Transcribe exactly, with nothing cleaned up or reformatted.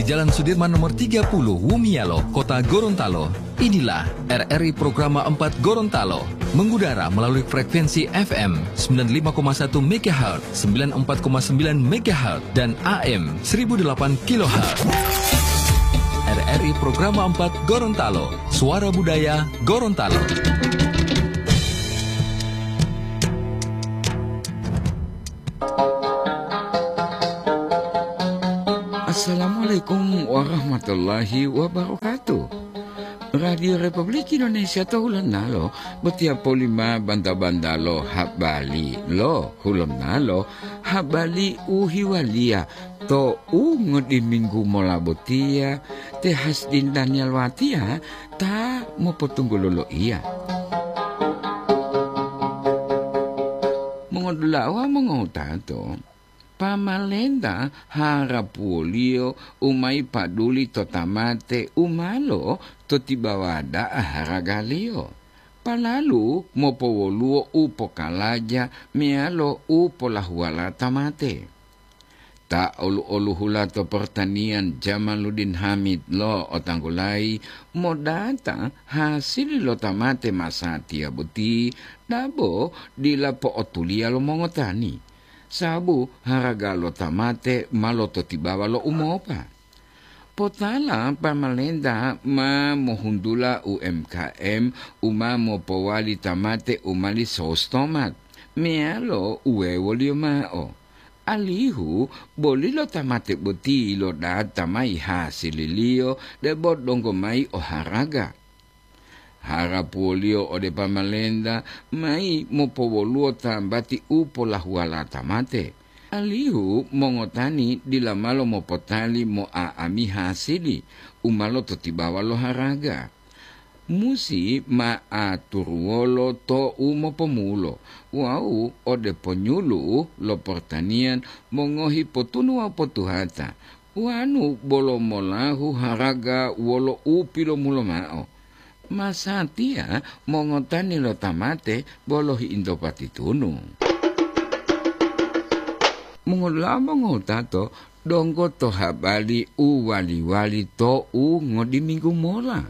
Jalan Sudirman nomor tiga puluh, Wumialo, Kota Gorontalo. Inilah R R I Programa empat Gorontalo, mengudara melalui frekuensi F M sembilan lima koma satu megahertz, sembilan empat koma sembilan megahertz, dan A M seribu delapan kilohertz. R R I Programa empat Gorontalo, suara budaya Gorontalo. Assalamualaikum warahmatullahi wabarakatuh. Radio Republik Indonesia to Hulonalo botiya poli ma banta-banta lo habari lo Hulonalo, habari u hiwaliya to u ngodiminggu mola botiya, te Hasdin Daniel Watiya ta mopotunggulo loiya. Mongodula'a wawu mongowutato, pamalenta harapuwoliyo u ma yipaduli to tamate u ma lototibawa da'a haragaliyo, palalu mopowoluwo u pokalaja meyalo u polahuwala tamate. Ta olu-oluhula to pertanian Jamaluddin Hamid lo'otanggulayi modata hasili lo tamate masatiya boti, dabo dila po'otuliya lo mongotani, sababu haraga lo tamate ma lototibawa lo umopa. Potala pamalenta ma mohuntula U M K M u ma mopowali tamate u mali sos tomat, meyalo uwewoliyo mao, alihu boli lo tamate boti lodata mayi hasililiyo debo donggo mayi o haraga. Harapuwoliyo ode pamalenta mayi mopowoluwo tambati u polahuwala tamate, alihu mongotani dila malo mopotali mo'a'ami hasili u ma lototibawa lo haraga. Musi ma aturuwolo to u mopomulo wawu ode ponyulu lo portaniyan mongohi potunu wawu potuhata, wanu bolo molahu haraga wolo u pilomulo mao. Masatiya mongotani lo tamate bolo hiinto patitunu. Mongolamo ngotato donggo to habari u wali-wali to u ngodiminggu mola.